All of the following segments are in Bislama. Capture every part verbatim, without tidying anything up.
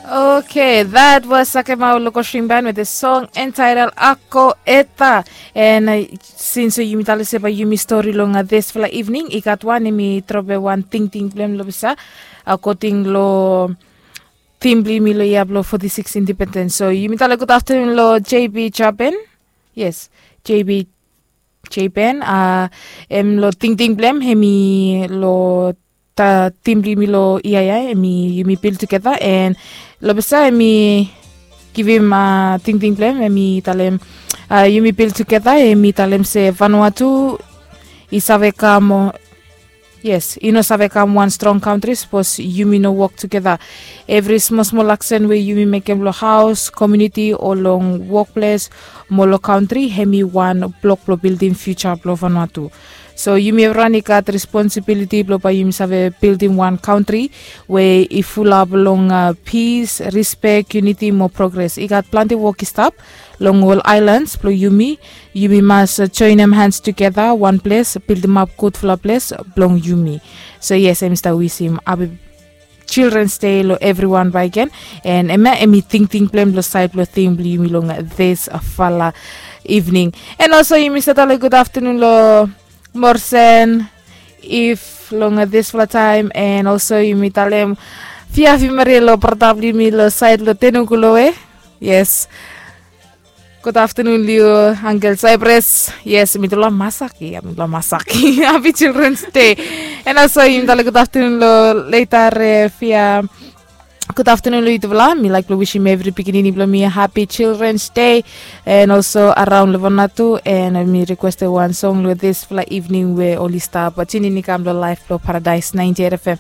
Okay, that was Sakemau Lokosring Band with the song entitled Ako Eta. And uh, since uh, yumi talem se bae yumi stori long uh, this fala evening, i gat wan em i trobe wan tingting blem lo bisa, according lo tim bli mi lo ia blo forty-six independence. So yumi talem good afternoon lo J B Japan. Yes, J B Japan. Uh, em lo tingting blem, em i lo ta tim bli mi lo ia ia, em i yumi bil tugeta, and lo bisa em i givim uh, tingting blem, em i talem uh, yumi bil tugeta, em i talem se Vanuatu i save kam o yes, i no save kam wan strong kantri sapos yumi no wok tugeta. Evri smol smol aksen we yumi mekem lo haos, komuniti o long wokples mo lo kantri, hem i wan blok blo bildim fiuja blo Vanuatu. So yumi evriwan i gat responsibiliti blo bae yumi save bildim wan kantri we i fulap long uh, pis, rispek, yuniti mo progres. I gat plante wok i stap long ol aelans blo yumi. Yumi mas joenem hans tugeta wan ples, bildimap gudfala ples blong yumi. So yes, em i stap wisim hapi Children's Day lo evriwan bakegen. And em ya em i tingting blem lo saed blo tim blo yumi long this fala evening. And also yumi save talem good afternoon lo Morsen, if long this fala taem. And also yumi talem fiafi maria lo brata blo yumi lo saed lo tenuku lo we. Yes. Good afternoon liu, Uncle Cypress. Yes, mitufala masak ia, mitufala masak ia. Hapi Children's Day. And also yumi talem good afternoon lo Leita Refia. Good afternoon lo yutufala. Mi laik blo wisim evri pikinini blo mi hapi Children's Day. And also araon lo Vanuatu, and mi rikwestem wan song lo this fala evening we oli stap tunin i kam lo laef blo Paradise ninety-eight F M.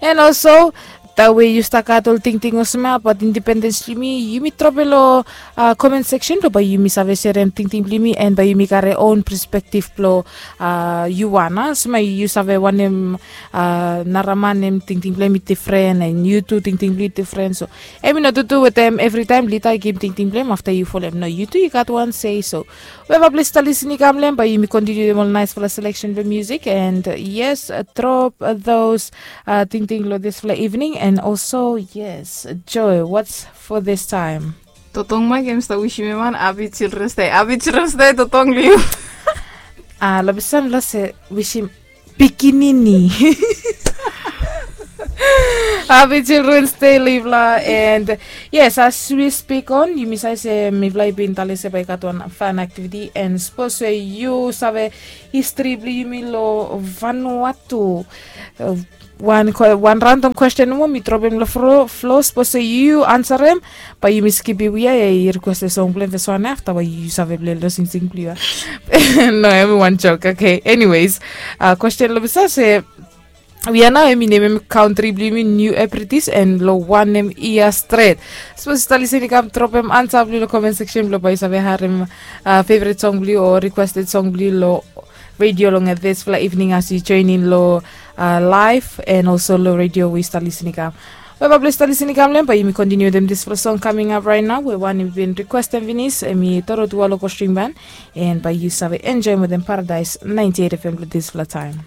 And also tawe yu stap gat ol tingting olsem ya abaot indipendens blo yumi, yumi drope lo komen seksen blo bae yumi save serem tingting blo yumi, and bae yumi karem on perspektif blo yu wan a. Olsem ya yu save wanem, nara man hem tingting blo hem i difren, and yu tu tingting blo yu i difren. So hem i no tutu wetem evritaem lida i givim tingting blo hem afta yu folem. No, yu tu yu gat wan sei. So we bae plis stap lisin i kam lo hem, bae yumi kontiniu wetem ol naesfala seleksen blo musik. And yes, drop those tingting lo disfala evening. And also yes, Joe, what's for this time? Totong Mike hem i stap wisim hem wan hapi Children's Day. Hapi Children's Day Totong, liu. A, lo bisa mifala se wisim pikinini hapi Children's Day lo yufala. And yes, as we speak on, yumi save se mifala i bin talem se bae i gat wan fan activity. And sapos se yu save histri blo yumi lo Vanuatu, wan random kwesten nomo mi dropem lo flo. Sapos se yu ansarem, bae yumi skipim we ya, i rikwestem song blo hem, fes wan ya, afta bae yu save plei lo singsing blo yu ya. No, hem i wan jok. Okay, anyways, kwesten lo bisa se we ya nao hem i nemem kantri blo yumi New Hebrides, and lo wanem yia stret? Sapos yu stap lisin i kam dropem ansa blo yu lo komen seksen blo bae yu save harem feveret song blo yu o rikwested song blo yu lo redio long disfala evening as yu joenem lo laef, and also lo redio we yu stap lisin i kam. We bae plis stap lisin i kam lo hem, bae yumi kontiniu wetem disfala song kaming ap raet nao, we wan i bin rikwestem finis, hem i Dorotua Lokosring Band. And bae yu save enjoem wetem Paradise ninety-eight F M lo disfala taem.